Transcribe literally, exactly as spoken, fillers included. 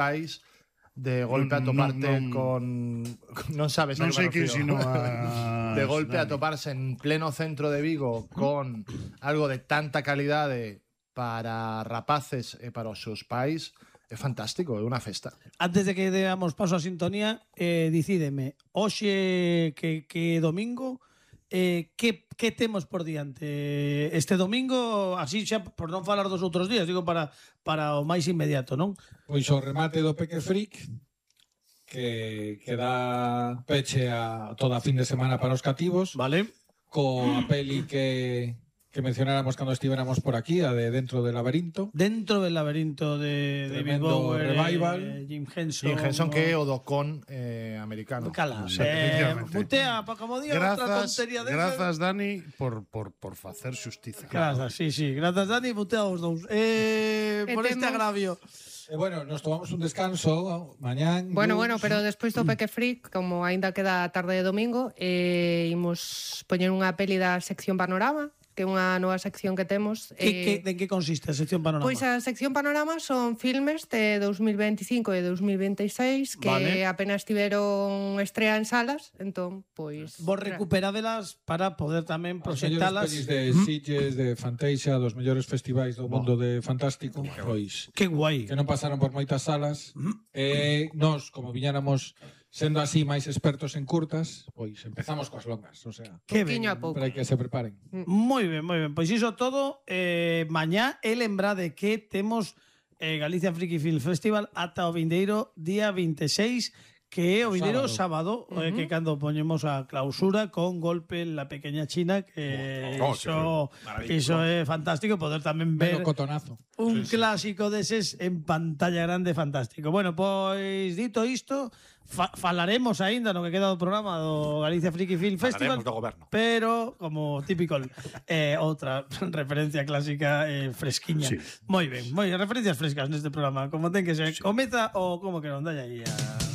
país de golpe a toparte no, no, con non sabes non sei que sino a de golpe a toparse en pleno centro de Vigo con algo de tanta calidade para rapaces e para os seus pais é fantástico, é unha festa. Antes de que deamos paso a sintonía, eh, dicídeme, hoxe que, que domingo, eh, que, que temos por diante? Este domingo, así xa, por non falar dos outros días, digo para, para o máis inmediato, non? Pois o remate do Peque Freak, que, que dá peche a toda a fin de semana para os cativos. Vale. Coa peli que... que mencionáramos cando estivéramos por aquí, a de Dentro del Laberinto. Dentro del Laberinto de David Bowie, Revival. Eh, Jim Henson. Jim Henson o... que é o do con eh, americano. Cala, sí, eh, mutea, pa como día outra tontería de Grazas, Dani, por, por, por facer xustiza. Grazas, sí, sí. Grazas, Dani, mutea os dous. Eh, por este agravio. Eh, bueno, nos tomamos un descanso mañán. Bueno, bueno, pero despois do Peque Freak, como aínda queda a tarde de domingo, eh, imos poñer unha peli da sección Panorama, que é unha nova sección que temos. Que, eh, que, de que consiste a sección Panorama? Pois a sección Panorama son filmes de dos mil veinticinco e dos mil veintiséis que vale. apenas tiveron estrea en salas, entón, pois... Vos recuperadelas para poder tamén proxectalas. Os mellores pelis de Sitges, de Fantasia, dos mellores festivais do mundo de Fantástico, pois... Que guai. Que non pasaron por moitas salas. E nós, como viñáramos sendo así máis expertos en curtas, pois empezamos coas longas, o sea, que ben, a pouco. para que se preparen. Moi ben, moi ben. Pois iso todo, eh, mañá e lembrade que temos eh, Galicia Friki Film Festival ata o vindeiro día vinte e seis, que é o vindeiro sábado, sábado uh -huh. eh, que cando poñemos a clausura con Golpe en la Pequeña China, que oh, iso, iso é fantástico, poder tamén ver cotonazo. un sí, clásico sí. deses en pantalla grande fantástico. Bueno, pois dito isto, fa falaremos aínda no que queda do programa do Galicia Friki Film Festival, do goberno. Pero, como típico, eh, outra referencia clásica eh, fresquiña. Sí. Moi ben, moi referencias frescas neste programa, como ten que ser. Sí. Comeza o como que non dai aí a...